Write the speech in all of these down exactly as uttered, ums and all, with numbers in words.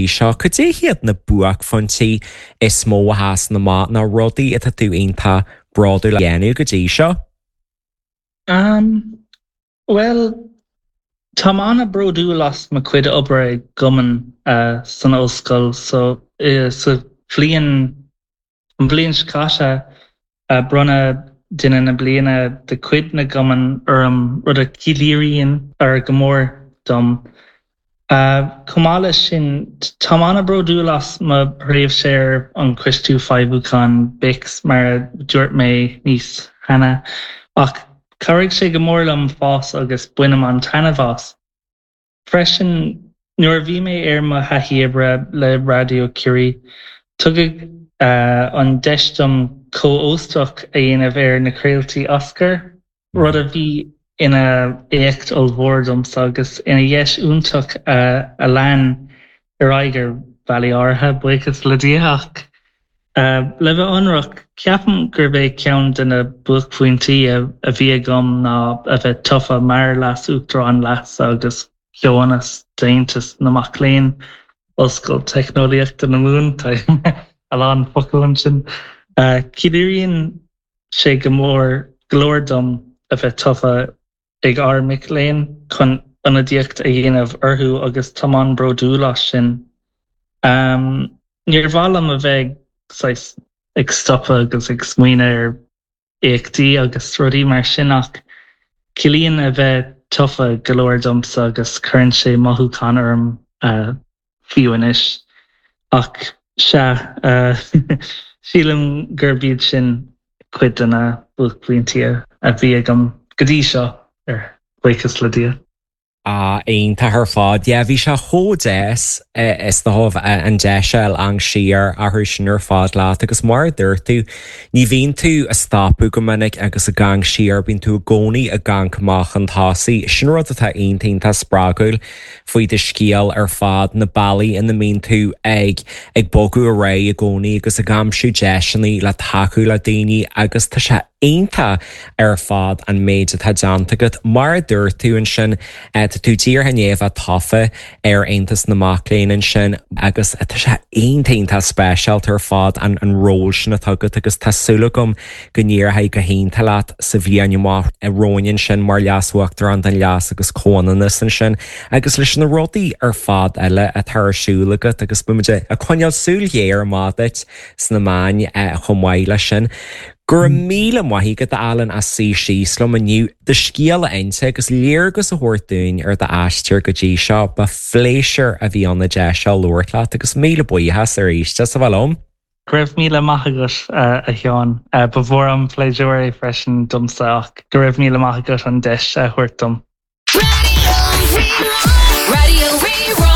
seo, cad é hiad na buaicphointí is mó a sheasann amach nó rudaí atá tú iontach bródúil a dhéanamh go dtí seo? Um, well, Tá an-bhródúil as mo chuid obair i gcumann uh, san ollscoil so uh, sa bhliain an bhliain seo caite uh, bronnadh duine na bliana de chuid na gcumann orm rud a chiallaíonn ar go mór dom. Uh, Chomh maith leis sin tá an-bhródúil as mo thréimhse ar an Choiste Feidhmiúcháin BICS mar a dúirt mé níos cheana ach chabhraigh sé go mór liom fás agus bainim an-taitneamh as. Freisin nuair a bhí mé ar mo thaithí oibre le Raidió Ciarraí, tugadh uh, an deis dom có-óstach a dhéanamh ar na craoltaí Oscar, rud a bhí ina éacht ollmhór domsa agus ina dheis iontach uh, a lean ar aghaidh ar bhealaí áirithe buíochas le Dia ach. Uh, le bheith ionraic ceapaim gurb é ceann de na buaicphointí a, a bhí agam ná a bheith tofa mar leas-uachtarán leasa agus comhionannais d'Aontas na Mac Léinn Ollscoil Teicneolaíochta na Mumhan a lán focal ansin. Uh, Ciallaíonn sé go mór go leor dom a bheith tofa ag ár mic léinn chun ionadaíocht a dhéanamh orthu agus tá an-bhródúil as sin. Um, Níor mhaith liom a bheith ag stopadh agus ag smaoineamh ar éachtaí agus rudaí mar sin ach ciallaíonn a bheith tofa go leor domsa agus cuireann sé mothúchán orm uh, fiú anois ach sea uh, sílim gurb iad sin cuid de na buaicphointí a bhí agam go dtí seo ar buíochas le Dia. Ah iontach ar fad yeah bhí sé chomh deas is dócha an deis amharc siar orthu sin ar fad leat agus mar a dúirt tú ní bhíonn tú ag stopadh go minic agus ag amharc siar bíonn tú i gcónaí ag amharc amach chun tosaigh sin rud atá iontach spreagúil faoi do scéal ar fad na bealaí ina mbíonn tú ag ag bogadh ar aghaidh i gcónaí agus ag aimsiú deiseanna le tacú le daoine agus tá sé iontach ar fad an méid atá déanta agat mar a dúirt tú ansin tá tú díreach i ndiaidh bheith tofa ar Aontas na Mac Léinn ansin agus tá sé iontach speisialta ar fad an an ról sin atá agat agus tá súil agam go n-éireoidh go hiontach leat sa bhliain amach romhainn ansin mar leas-uachtarán don leas agus comhionannas ansin agus leis na rudaí ar fad eile atá ar siúl agat agus beimid ag coinneáil súil ghéar amach duit sna meáin chomh maith leis sin. Go raibh míle maith agat Alan as suí síos liom inniu do scéal a inse agus léargas a thabhairt dúinn ar d'aistear go dtí seo ba phléisiúr a bhí ann an deis seo labhairt leat agus míle buíochas arís as a bheith liom. Go raibh míle maith agat a Sheáin ba mhór an pléisiúr é freisin domsa ach go raibh míle maith agat an deis a thabhairt dom. Radio Rí-Rá.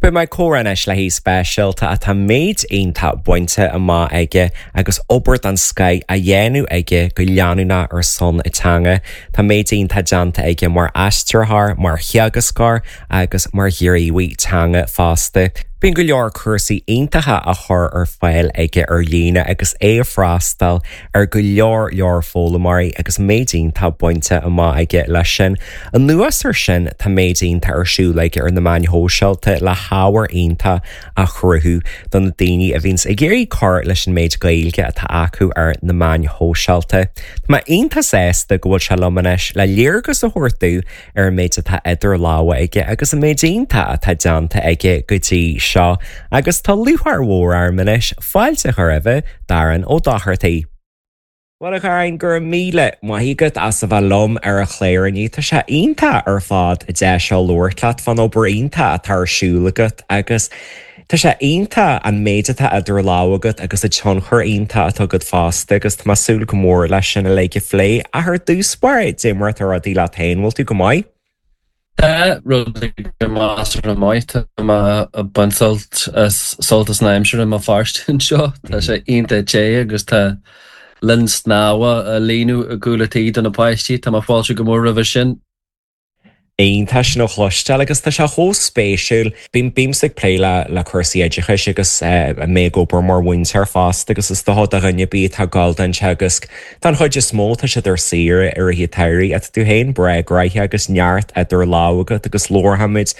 Beidh mé ag comhrá anois le haoi speisialta atá méid iontach bainte amach aige agus obair den scoth á dhéanamh aige go leanúnach ar son na teanga. Tá méid iontach déanta aige mar aistritheoir, mar theagascóir agus mar ghníomhaí teanga fosta. Bíonn go leor cúrsaí iontacha á chur ar fáil aige ar líne agus é ag freastal ar go leor leor foghlaimeoirí agus méid iontach bainte amach aige leis sin. Anuas air sin tá méid iontach ar siúl aige ar na meáin shóisialta le hábhar iontach a chruthú do na daoine a bhíonns ag iarraidh cur leis an méid Gaeilge atá acu ar na meáin shóisialta. Tá mé iontach sásta go bhfuil sé liom anois le léargas a thabhairt dúinn ar an méid atá idir lámha aige agus an méid iontach atá déanta aige go dtí seo, agus tá lúcháir mhór orm anois fáilte a chur roimh Darren Ó Dochartaigh. Well a Dharren go raibh míle maith agat as a bheith liom ar an chlár inniu Tá sé iontach ar fad deis a labhairt leat fán obair iontach atá ar siúl agat agus Tá sé iontach an méid atá idir lámha agat agus an tionchar iontach atá agat fosta agus tá mé ag súil go mór leis sin uilig a phlé ach ar dtús báire cad é mar atá rudaí leat féin bhfuil tú go maith? Tá rudaí go measartha maith Tá mé ag baint sult as sult as an aimsir i mBéal Feirste anseo Tá sé iontach te agus tá linn snámha á líonadh i gcúl an tí do na páistí Tá mé ag fáiltiú go mór roimhe sin. Iontach sin a chloisteáil agus tá sé chomh spéisiúil. Bím bímsa ag plé le le cúrsaí oideachais agus mé ag obair mar mhúinteoir fosta agus is dócha do dhuine ar bith atá ag gabháil don teagasc Don chuid is mó tá siad ar saoire i rith an tsamhraidh ach tá tú féin breá gnóthach agus neart idir lámha agat agus labharfaimid